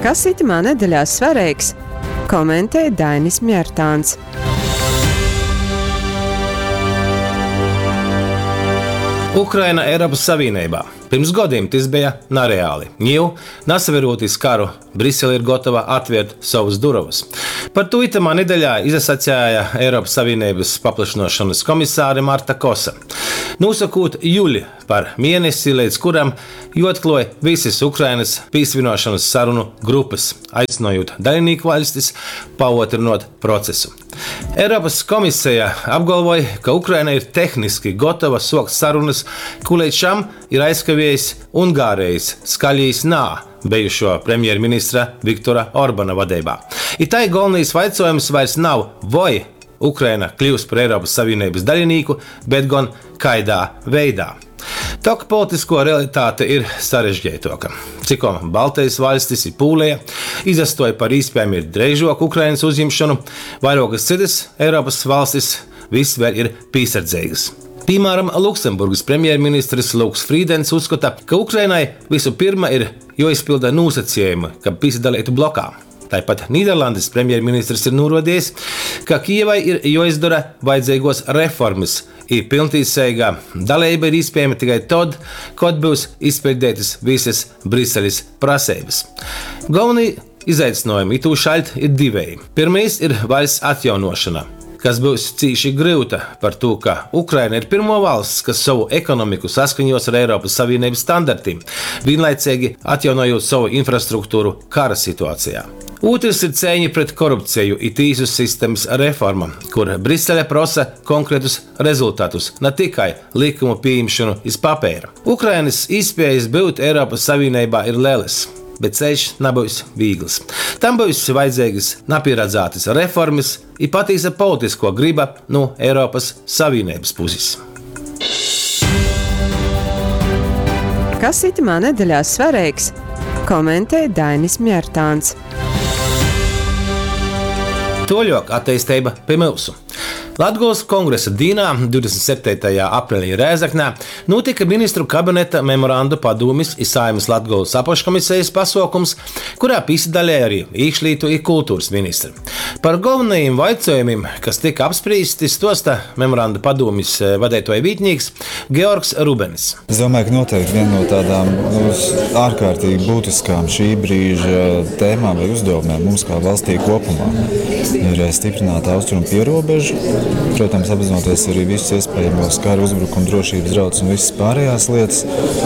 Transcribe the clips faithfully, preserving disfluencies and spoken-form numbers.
Kas itymā nedeļā svareigs, komentej Dainis Mjartāns. Ukraina Eiropas Savīneibā. Pirms godiem tys beja nareāli. Niu, nasaverūt iz karu, Brisele ir gotova atvērt sovys durovys. Par tū itamā nedeļā izasaceja Eiropas Savīneibys paplašynuošonys komisāre Marta Kosa, nūsokūt juli par mienesi, leidz kuram juoatkluoj vysys Ukrainys pīsavīnuošonys sarunu grupys, aicynojūt dalinīku vaļstis pauotrynuot procesu. Eiropas komiseja apgolvoj, ka Ukraina ir tehniski gotova suokt sarunys, kū leidz šam ir aizkaviejs Ungārejis skaļīs nā bejušuo premjerministra Viktora Orbana vadeibā. I tai golvonais vaicuojums vairs nav, voi Ukraina klius par Eiropas Savīneibys dalinīku, bet gon kaidā veidā. Tok politiskuo realitāte ir sarežgeituoka. Cikom Baltejis vaļstis i Pūleja izastuoj par īspiejami dreižuoku Ukrainys uzjimšonu, vairuokys cytys Eiropys valstis vys vēļ ir pīsardzeigys. Pīmāram, Luksemburgys premjerministrs Luks Frīdens uzskota, ka Ukrainai vysu pyrma ir juoizpylda nūsacejumi, kab pīsadaleitu blokā. Taipat Nīderlandis premjerministrs ir nūruodejs, ka Kijevai ir juoizdora vajadzeiguos reformys, i pylntīseiga daleiba ir īspiejama tikai tod, kod byus izpiļdeitys vysys Briselis praseibys. Golvonī izaicynuojumi itūšaļt ir diveji. Pyrmais ir vaļsts atjaunuošona, kas byus cīši gryuta, partū ka Ukraina ir pyrmuo valsts, kas sovu ekonomiku saskaņuos ar Eiropys Savīneibys standartim, vīnlaiceigi atjaunojūt sovu infrastrukturu kara situacejā. Ūtrys ir ceiņa pret korupceju i tīsu sistemys reforma, kur Brisele prosa konkretus rezultatus, na tikai lykumu pījimšonu iz papeira. Ukrainys īspiejis byut Eiropys Savīneibā ir lelys, bet ceļš nabyus vīgls. Tam byus vajadzeigys napīradzātys reformys i patīsa politiskuo gryba nu Eiropys Savīneibys pusis. Kas itymā nedeļā svareigs, komentej Dainis Mjartāns. Tuoļuok atteisteiba pi myusu. Latgolys kongresa dīnā, divdesmit septeitajā aprelī Rēzeknē, nūtyka Ministru kabineta memorandu padūmis i Saeimys Latgolys apakškomisejis pasuokums, kurā pīsadaleja arī īkšlītu i kulturys ministri. Par golvonajim vaicuojumim, kas tyka apsprīsti, stuosta memorandu padūmis vadeituoja vītnīks Georgs Rubenis. Es domāju, ka noteikti viena no tādām, nu, ārkārtīgi būtiskām šī brīža tēmām vai uzdevumiem mums kā valstī kopumā ir stiprināt austrumu pierobežu. Protams, apzinoties arī visus iespējamos kara uzbrukumu, drošības draudus un visas pārējās lietas.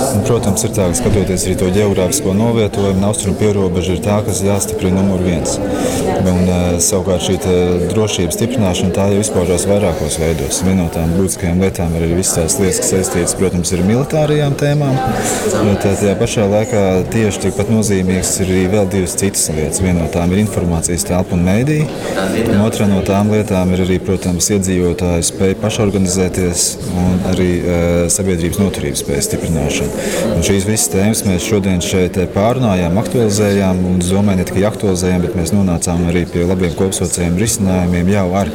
Un, protams, ir tā, ka skatoties arī to ģeogrāfisko novietojumu, austrumu pierobeža ir tā, kas jāstiprina numur viens. Un, eh, savukārt šī te drošības stiprināšana tā jau izpaužās vairākos veidos. Viena no tām būtiskajām lietām ir arī visas tās lietas, kas saistītas, protams, ar militārajām tēmām, bet, eh, tajā pašā laikā tieši tikpat nozīmīgs ir arī vēl divas citas lietas. Viena no tām ir informācijas telpa un mēdī, un otra no tām lietām ir arī, protams, iedzīvotāju spēja pašorganizēties un arī, eh, sabiedrības noturības spējas stiprināšana. Un šīs visas tēmas mēs šodien šeit pārunājām, aktualizējām, un es domāju, ne tikai aktualizējām, bet mēs nonācām arī pie labiem kopsaucējiem risinājumiem jau ar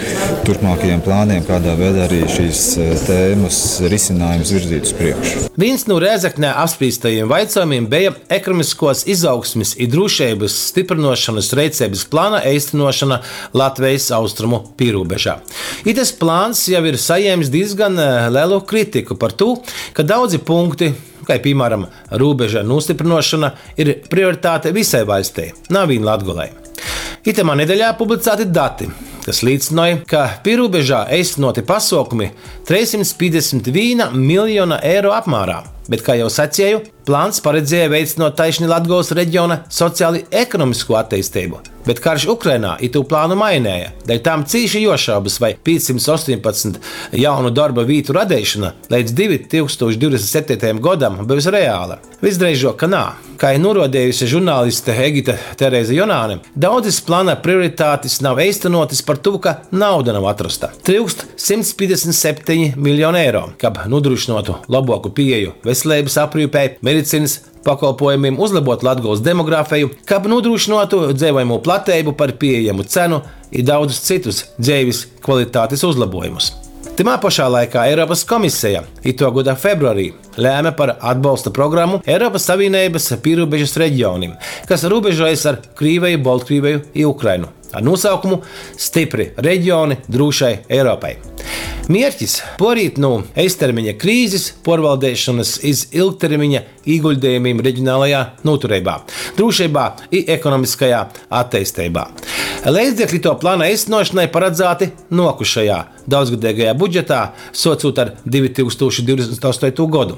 turpmākajiem plāniem, kādā veidā arī šīs, eh, tēmas risinājumus virzīt uz priekšu. Viens no Rēzeknē apspriestajiem vaicojumiem beja ekonomiskos izaugsmes i drošības stiprinošanas reiceibys plāna eistenošana Latvijas austrumu pierobežā. Itas plāns jau ir saņēmis diezgan, eh, lielu kritiku par to, ka daudzi punkti, kā piemēram robeža nostiprinošana, ir prioritāte visai valstī, nav vien Latgolai. Itamā nedēļā publicēti dati, kas liecināja, ka pierobežā eistenoti pasaukumi trīs piecdesmit viena miljona eiro apmērā. Bet, kā jau sacīju, plāns paredzēja veicinot taišni Latgolas reģiona sociāli ekonomisko attīstību. Bet karš Ukrainā itū plānu mainēja, dēļ tam cīši jošaubas vai piecsimt astoņpadsmit jaunu darba vītu radīšana līdz divi tūkstoši divdesmit septītajam godam būs reāla. Visdrīzāk, ka nā. Kā ir norādījusi žurnāliste Egita Terēze Jonāne, daudzas plāna prioritātes nav īstenotas par to, ka nauda nav atrasta. Trūkst simts piecdesmit septiņi miljoni eiro, kab nodrošinātu labāku pieeju veselības aprūpei, medicīnas pakalpojumiem, uzlabot Latgolas demogrāfiju, kab nodrošinātu dzīvojamo platību par pieejamu cenu i daudzus citus dzīves kvalitātes uzlabojumus. Timā pašā laikā Eiropas komisija ito gada februārī lēma par atbalsta programmu Eiropas Savienības pierobežas reģionim, kas robežojas ar Krīveju, Baltkrieveju i Ukrainu, ar nosaukumu Stipri reģioni drūšai Eiropai. Mierķis – porīt nu eistermiņa krīzis porvaldeišonys iz ilgtermiņa īguļdejumim reģionālajā notureibā, drūšeibā i ekonomiskajā atteisteibā. Leidzekļi to plana eistenošanai paradzāti nuokušajā daudzgadīgajā budžetā, suocūt ar divi tūkstoši divdesmit astoitū godu.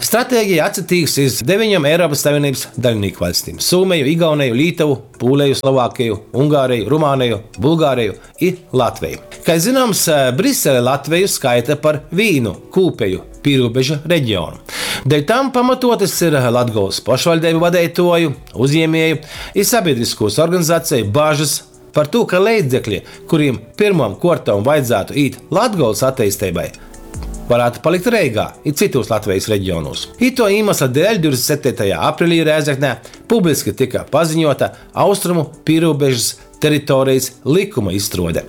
Stratēģija atsatīks iz deviņom Eiropas Savienības daļinīku vaļstim – Sūmeju, Igauneju, Lītovu, Pūleju, Slovākeju, Ungāreju, Rumāneju, Bulgāreju i Latveju. Kai zināms, Brisele Latveju skaita par vīnu kūpeju pīrūbeža reģionu. Dēļ tam pamatotas ir Latgolas pošvaļdeibu vadeituoju, uzņēmēju i sabiedriskūs organizaceju bažas par tū, ka leidzekļi, kuriem pirmom kuortom vajadzātu īt Latgolas atteisteibai, varētu palikt Reigā i cytūs Latvejis reģionūs. Ituo īmesla dēļ divdesmit septeitajā aprīlī Rēzeknē publiski tyka paziņota Austrumu pierobežas teritorijas likuma izstruode,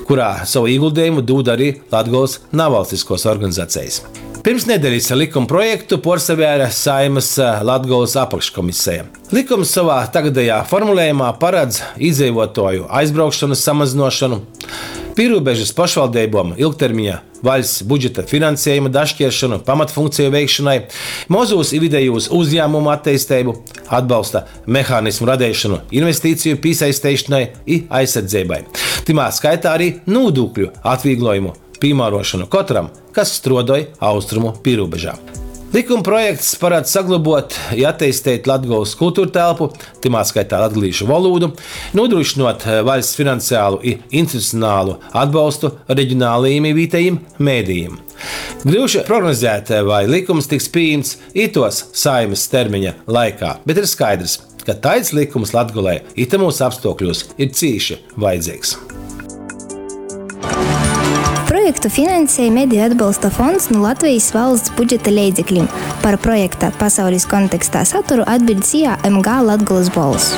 kurā savu ieguldījumu dūd arī Latgolas navalstiskos organizacijas. Pirms nedēļas likuma projektu porsavēra Saeimas Latgolas apakškomiseja. Likums savā tagadējā formulējumā paredz iedzīvotāju aizbraukšanas samazinošanu, pierobežas pašvaldībām ilgtermiņa vaļsts budžeta finansējuma dašķieršanu pamatfunkciju veikšanai, mozūs i vidējūs uzņēmumu attīstību, atbalsta mehānismu radeišanu investīciju pīsaisteišonai i aizsardzeibai. Tymā skaitā arī nūdūkļu atvīglojumu pīmārošanu kotram, kas struodoj austrumu pīrūbežā. Likuma projekts paredz saglobot i atteisteit Latgolas kulturtelpu, tymā skaitā latgalīšu volūdu, nodrošinot vaļsts finansiālu i institucionālu atbalstu reģionālajiem i vītejim medijim. Gryuši prognozēt, vai likums tiks pieņemts itos Saeimas termiņa laikā, bet ir skaidrs, ka taids likums Latgolai itamūs apstuokļūs ir cīši vajadzeigs. Projektu finansēja Mediju atbalsta fonds nu Latvejis valsts budžeta leidzeklim. Par projekta Pasaulis kontekstā saturu atbiļd S I A M G Latgolys Bolss.